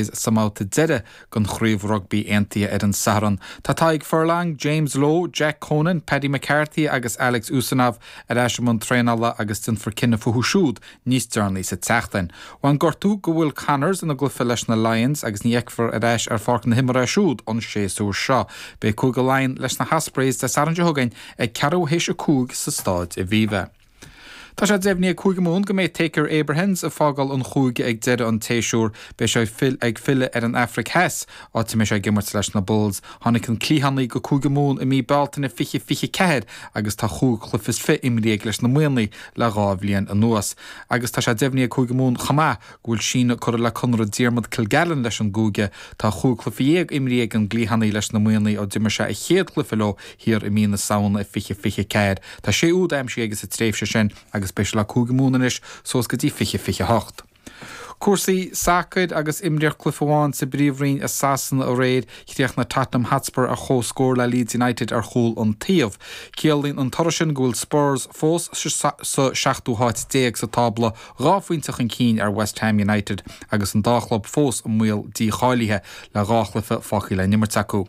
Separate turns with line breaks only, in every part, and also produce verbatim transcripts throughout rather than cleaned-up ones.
Sa mbabhta deiridh den chraobh rugbaí aontaithe ar an Satharn. Tá Tadhg Furlong, James Lowe, Jack Conan, Paddy McCarthy agus Alex Usanov ar ais i mbun traenála agus déanfar cinneadh fúthu siúd níos deireanaí sa tseachtain. Bhain gortú go Will Connors ina gcluiche leis na Lions agus ní fheicfear ar ais ar pháirc na himeartha é siúd an séasúr seo. Beidh Cúige Laighean leis na hOspreys Dé Sathairn seo chugainn ag ceathrú théis a cúig sa Staid Aviva. Tá sé deimhnithe ag Cúige Mumhan go mbeidh Thaakir Abrahams ag fágáil an chúige ag deireadh an tséasúir beidh sé ag filleadh ar an Afraic Theas áit a mbeidh sé ag imirt leis na Bulls. Tháinig an cliathánaí go Cúige Mumhan i mí Bealtaine fiche fiche ceathair agus tá chúig chluiche is fiche imrithe leis na Muimhnigh le dhá bhliain anuas. Agus tá sé deimhnithe ag Cúige Mumhan chomh maith go bhfuil síneadh curtha le conradh Diarmuid Kilgallen leis an gcúige tá chúig chluiche dhéag imrithe ag an gcliathánaí leis na Muimhnigh ó d'imir sé a chéad chluiche leo thiar i mí na Samhna fiche fiche ceathair. Tá sé úd aimsithe aige sa tréimhse sin agus beidh sé le Cúige Mumhan anois suas go dtí fiche fiche hocht. Cúrsaí sacair agus imríodh cluiche amháin sa bPríomhroinn i Sasana aréir chríochnaigh Tottenham Hotspur ar comhscór le Leeds United ar chúl an taobh. Ciallaíonn an toradh sin go bhfuil Spurs fós sa seachtú háit déag sa tábla dhá phointe chun cinn ar West Ham United agus an dá chlub fós i mbaol dícháilithe le dhá chluiche fágtha le n-imirt acu.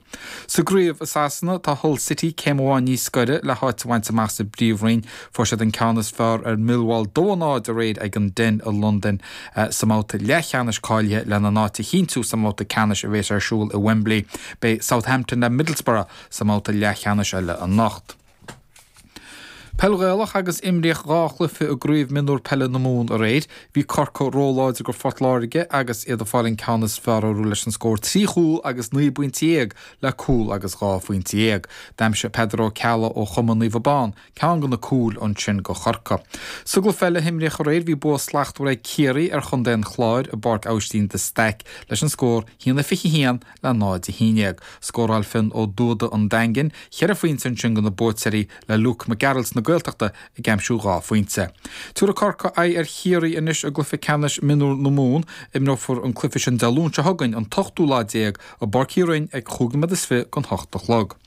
Sa gcraobh i Sasana tá Hull City céim amháin níos gaire le háit a bhaint amach sa bPríomhroinn fuair siad an ceann is fearr ar Millwall dó a náid aréir ag an Den i Londain sa mbabhta leathcheannais cáilithe lena n-áit a chinntiú sa mbabhta ceannais a bheas ar siúl i Wembley. Beidh Southampton le Middlesbrough sa mbabhta leathcheannais eile anocht. Peil Ghaelach agus imríodh dhá chluiche i gcraobh mionúr peile na Mumhan aréir, bhí Corcaigh róláidir go Phort Láirge agus iad ag fáil an ceann is fearr orthu leis an scór trí chúl agus naoi bpointe déag le cúl agus dhá phointe dhéag. D'aimsigh Peadar Ó Ceallaigh ó Chumann Naomh Abán ceann de na cúil ansin go Chorcaigh. Sa gcluiche eile a imríodh aréir bhí bua slachtmhar ag Ciarraí ar Chontae an Chláir i bPáirc Aibhistín de Staic leis an scór haon a fiche haon le náid a haon déag. Scóráil Finn Ó Dúda an Daingin, ceithre phointe ansin do na buaiteoirí le Luke Mac Gearailt na Gaeltachta ag aimsiú dhá phointe. Tabharfaidh Corcaigh aghaidh ar Chiarraí anois i gcluiche ceannais mionúr na Mumhan, imreofar an cluiche sin Dé Luain seo chugainn an t-ochtú lá déag i bPáirc Uí Rinn ag cúig nóiméad is fiche don hocht a chlog.